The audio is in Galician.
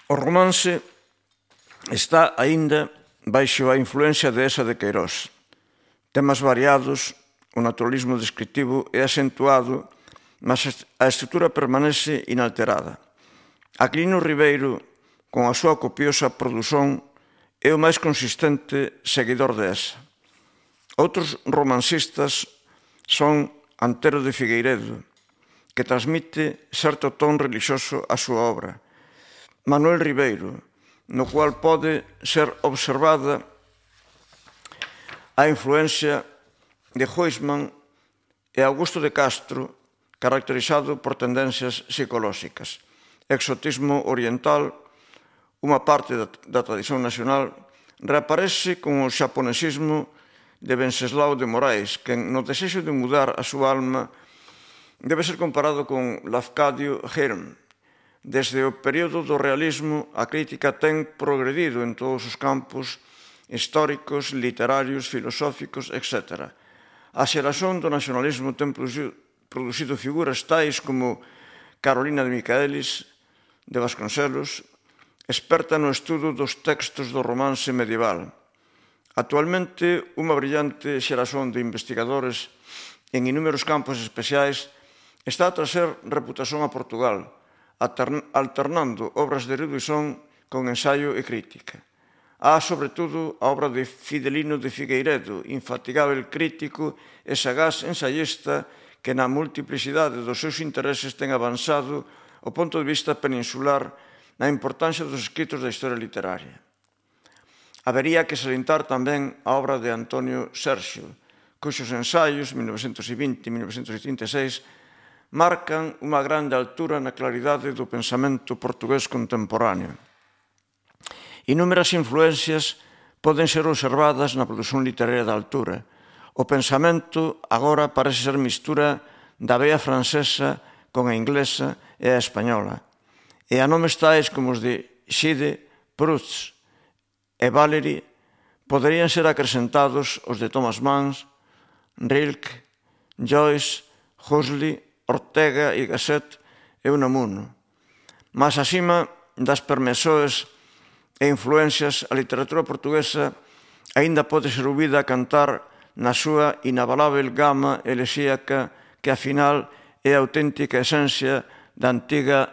O romance está aínda baixo a influencia de Esa de Queirós. Temas variados, o naturalismo descritivo é acentuado, mas a estrutura permanece inalterada. Aquilino Ribeiro, con a súa copiosa produción, é o máis consistente seguidor de Esa. Outros romancistas son Antero de Figueiredo, que transmite certo ton relixioso á súa obra, Manuel Ribeiro, no cual pode ser observada a influencia de Huysmans e Augusto de Castro, caracterizado por tendencias psicolóxicas. Exotismo oriental, unha parte da tradición nacional, reaparece con o xaponesismo de Wenceslao de Moraes, que no desexo de mudar a súa alma debe ser comparado con Lafcadio Hearn. Desde o período do realismo, a crítica ten progredido en todos os campos históricos, literarios, filosóficos, etc. A xeración do nacionalismo ten producido figuras tais como Carolina de Michaelis, de Vasconcelos, experta no estudo dos textos do romance medieval. Actualmente, unha brillante xeración de investigadores en inúmeros campos especiais está a trazer reputación a Portugal, alternando obras de erudición con ensaio e crítica. Há, sobre todo, a obra de Fidelino de Figueiredo, infatigável crítico e sagaz ensaiista que na multiplicidade dos seus intereses ten avanzado o ponto de vista peninsular na importancia dos escritos da historia literaria. Habería que salientar tamén a obra de Antonio Serxio, cuxos ensaios, 1920 e 1936, marcan unha grande altura na claridade do pensamento portugués contemporáneo. Inúmeras influencias poden ser observadas na produción literaria da altura. O pensamento agora parece ser mistura da vea francesa con a inglesa e a española. E a nomes tais como os de Gide, Proust e Valéry poderían ser acrescentados os de Thomas Mann, Rilke, Joyce, Huxley, Ortega y Gasset e Unamuno. Mas acima das permesoes e influencias, a literatura portuguesa aínda pode ser ouvida a cantar na súa inabalável gama elexíaca que, afinal, é a auténtica esencia da antiga